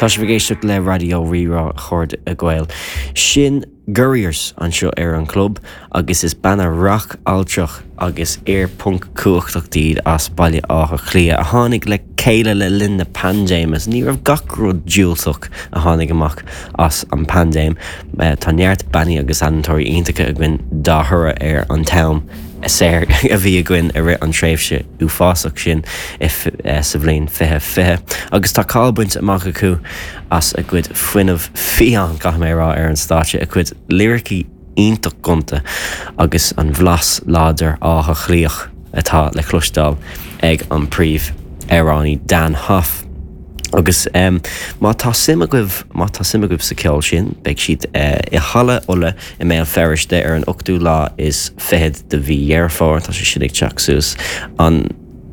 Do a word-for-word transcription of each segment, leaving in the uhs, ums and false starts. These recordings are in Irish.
Tá sibh ag éisteacht le Raidió Rí-Rá, a chairde Gael. Sin Gurriers anseo ar an club agus is banna rac altrach agus aerpunc cumhachtach iad as Baile Átha Cliath a tháinig le chéile le linn na paindéime. Ní raibh gach rud diúltach a tháinig amach as an paindéim. Tá neart bannaí agus ealaíontóirí iontacha againn dá thoradh ar an t-am saor a bhí againn i rith an tréimhse uafásach sin sa bhliain fiche fiche. Agus tá cáil bainte amach acu as a gcuid fuinneamh fiáin caithfidh mé a rá ar an stáitse a cuid liricí iontach gonta agus an bhlas láidir Átha Cliathach atá le cloisteáil ag an príomhamhránaí Dan Hoff. Agus um, má tá suim agaibh má tá suim agaibh sa ceol sin, beidh siad uh, i Halla Uladh i mBéal Feirste ar an ochtú lá is fichead de mhí Dheireadh Fómhair tá sé sin ag teacht suas an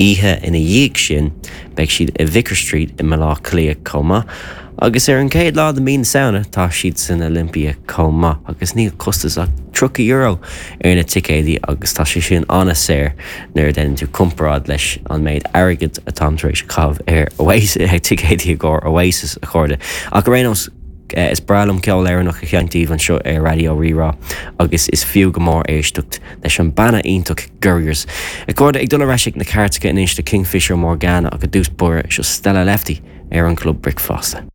oíche ina dhiaidh sin beidh siad i Vicar Street i mBaile Átha Cliath chomh maith. Agus ar an chéad lá de mhí na Samhna tá siad san Olympia chomh maith, agus níl costas ach tríocha euro ar na ticéidí agus tá sé sin an-saor nuair a déanann tú comparáid leis an méid airgid atá tar éis caitheamh ar Oasis ticéidí i gcomhair Oasis a chairde. Ach ar aon nós is breá liom ceol Éireannach a sheinnt daoibh anseo ar Raidió Rí-Rá agus is fiú go mór éisteacht leis an banna iontach Gurriers. A chairde ag dul ar ais ag na cairteacha anois de Kingfisher Morgana ach i dtús báire seo Stella Lefty ar an Club Bricfeasta.